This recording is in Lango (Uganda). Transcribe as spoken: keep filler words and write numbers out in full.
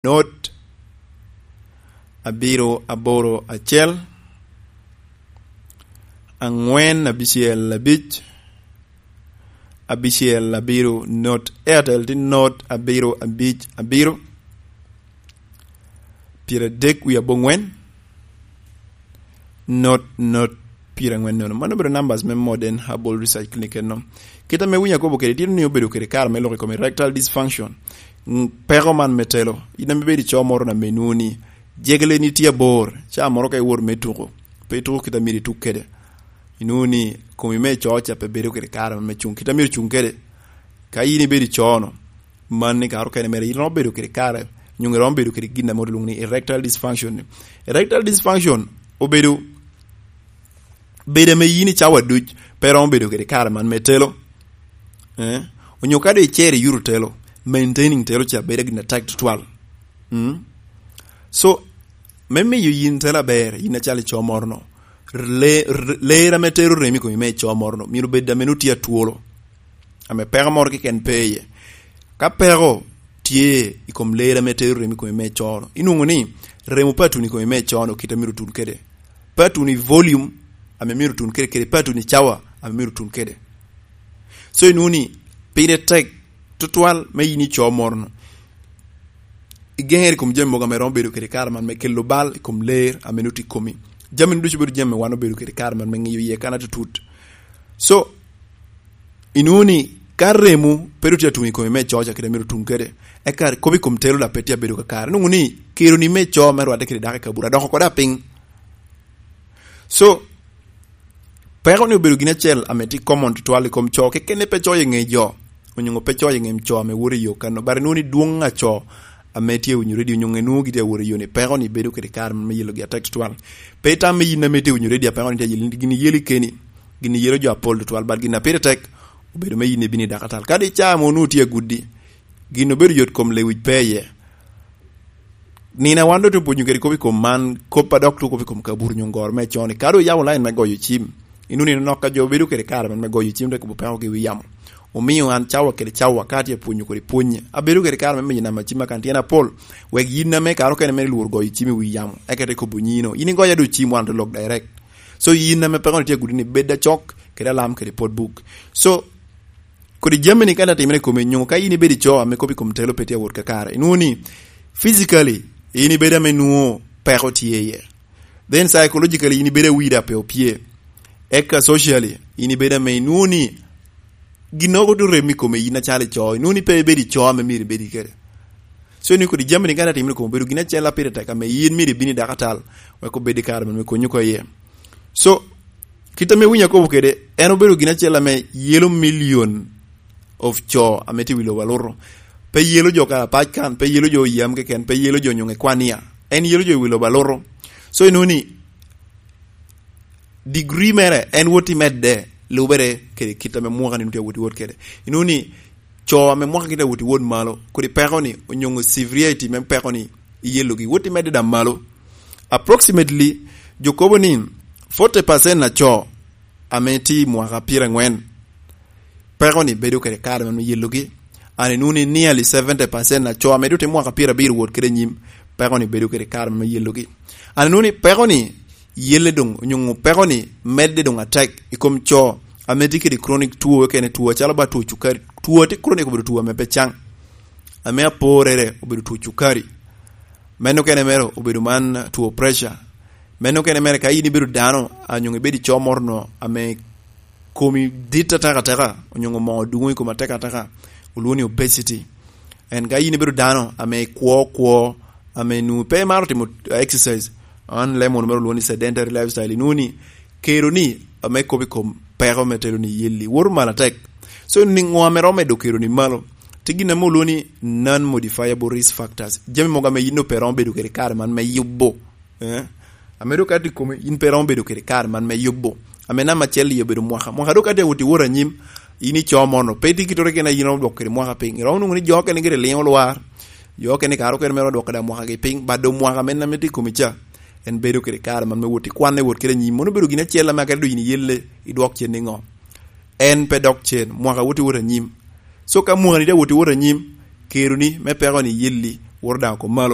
not abiro aboro acel, angwen abicel abic, abicel abiro not. Airtel tye not abiro abic abiro, pyeradek wie abongwen, not not pyerangwen nono. Mano obedo numbers me Modern Herbal Research Clinic eno. Kit ame winyo akobo kede, tye ni obedo kede kare me lok i kom erectile dysfunction. Mm, peko man me telo. In ame bedo i coo moro na me nuni, jegeleni tye abor, ca moro ka iwor me tuko, pe ituko kit amito ituk kede. Inuni komi me coo ca pe bedo kede kare me cuŋ kit amito cuŋ kede. Ka in ibedo i coo-no, man ni kare okene mere, in romo bedo kede kare, nyo iromo bedo kede gin ame olwoŋo ni erectile dysfunction. Erectile dysfunction obedo bedo ame yin i cawa duc pe romo bedo kede kare man me telo. Eh? Onyo ka doŋ icero iyuto telo, maintaining telo ca bedo gin atek tutwal. Mm? So, me miyo yin telo aber, yin acalo i coo moro-no, le-, r-, ler ame tero remo i komi me i coo moro-no, myero bed ame nutye atwolo, ame peko moro keken pe iye. Ka peko tye i kom ler ame tero remo i komi me i coo-no, inwoŋo ni remo pe atuno i komi me i coo-no kit amito tun kede. Pe atuno i volume ame myero tun kede, kede pe atuno i cawa ame myero tun kede. So, inwoŋo ni pire tek tutwal me yin i coo moro-no igeŋere i kom jami mogo ame romo bedo kede kare man me kelo bal i kom ler ame nut i komi. Jami ducu bedo jami ame wan obedo kede kare man me ŋiyo iye kan atutut. So, inwoŋo ni ka remo pe doŋ tye atuŋ i komi me coo ca kede myero otuŋ kede, eka kop i kom telo daŋ pe tye abedo kakare. Inwoŋo ni keroni me coo me rwadde kede dako i kabura doko koda piny. So, peko ni obedo gin acel ame tye common tutwal i kom coo, kekene pe coo i ŋe jo, onyoŋo pe coo i ŋe coo ame woto i yo kano, but inwoŋo ni dwoŋ a coo ame tye winyo redio, onyoŋo inwoŋo gitye awot i yo ni, peko ni bedo kede kare me yelogi atek tutwal. Pe itam me yin ame tye winyo redio, peko ni tye yelo, gin yelo keni, gin yelo jo apol tutwal, but gin a pire tek obedo me yin ibino i dakatal. Kadi i caa ame onwoŋo tye aguddi, gin obedo yot kom lewic pe iye. Nino a wan doŋ tye opwonyo kede kop i kom man, kop a dok tye kop i kom kaburu nyo goro me con-ni. Ka doŋ oyabo lain me goyo cim, inwoŋo nino nok ka jo bedo kede kare man me goyo cim, te kobo peko gi wi yamo. Omio an cawa kede cawa ka atye apwonyo kodi pwonye, abedo kede kare me miyo namba cim akan tyen apol, wek yin ame kare okene mere lwor goyo cim i wi yamo, eka te kobo nyino. In igoyo doŋ cim, wan te lok direct. So, yin ame peko ni tye agudi ni, bed acok kede alam kede pot buk. So, kodi jami ni ka atimere i komi, nyo ka in ibedo i coo ame kop i kom telo pe tye awot kakare, inwoŋo ni physically in ibedo ame nwoŋo peko tye iye. Then psychologically in ibedo awida pe opye. Eka socially in ibedo ame inwoŋo ni gin mogo tye rem i komi in acalo i coo, inwoŋo ni pe ibedo i coo ame myero ibedi kede. So, ni kodi jami ni ka atimere i komi obedo gin acel a pire tek ame in myero ibin i dakatal, wek obed i kare me konyi oko iye. So, kit ame winyo akobo kede, en obedo gin acel ame yelo million of coo ame tye i wi lobo aluto. Pe yelo jo Karapac kan, pe yelo jo yam keken, pe yelo jo nyoŋe kwania. En yelo jo i wi lobo aluto. So, inwoŋo ni degree mere en wot i medde, lubere kede kit ame mwaka ni tye awot i wot kede. Inwoŋo ni coo ame mwaka gitye awot i wot malo, kodi peko ni, onyoŋo severity me peko ni, i yelogi wot i medde daŋ malo. Approximately, jo kobo ni forty percent a coo ame tye i mwaka pyerangwen, peko ni bedo kede kare me yelogi. An inwoŋo ni nearly seventy percent a coo ame doŋ tye mwaka pyerabiro wot kede anyim, peko ni bedo kede kare me yelogi. An inwoŋo ni peko ni yelle doŋ, onyoŋo peko ni medde doŋ atek i kom coo ame tye kede chronic two, okene two acalo ba two cukari. Two a tye chronic obedo two ame pe caŋ. Ame aporere obedo two cukari. Meno okene mere obedo man two pressure. Meno okene mere ka in ibedo dano, a, onyoŋo ibedo i coo moro no ame komi dit atekateka, onyoŋo moo dwoŋo i komi atekateka, olwoŋo ni obesity. En ka in ibedo dano ame ikwo kwo, ame nu pe imaro timo exercise, an lemon mere olwoŋo ni sedentary lifestyle, inwoŋo ni keroni ame kop i kom peko me telo ni yelli woto malo atek. So, ni ŋo ame romo medo keroni malo? Tye gin ame olwoŋo ni non-modifiable risk factors. Jami mogo ame yin pe romo bedo kede kare man me yubo. Eh? Ame dok ka tye i komi, yin pe romo bedo kede kare man me yubo. Ame namba acel i obedo mwaka. Mwaka dok ka tye awot i wot anyim, in i coo mono, pe tye kitoro kene a yin romo dwoko kede mwaka piny. Iromo nwoŋo ni jo okene gire liŋo lwar. Jo okene kare okene mere odwoko da mwaka gi piny. But do mwaka men ame tye i komi ca, en bedo kede kare man me wot i kwanne wot kede anyim. Mono obedo gin acel ame akelo do yin iyelle idwok cen niŋo? En pe dok cen, mwaka wot i wot anyim. So ka mwaka ni tye awot i wot anyim, keroni me peko ni yelli Woro daŋ okom malo.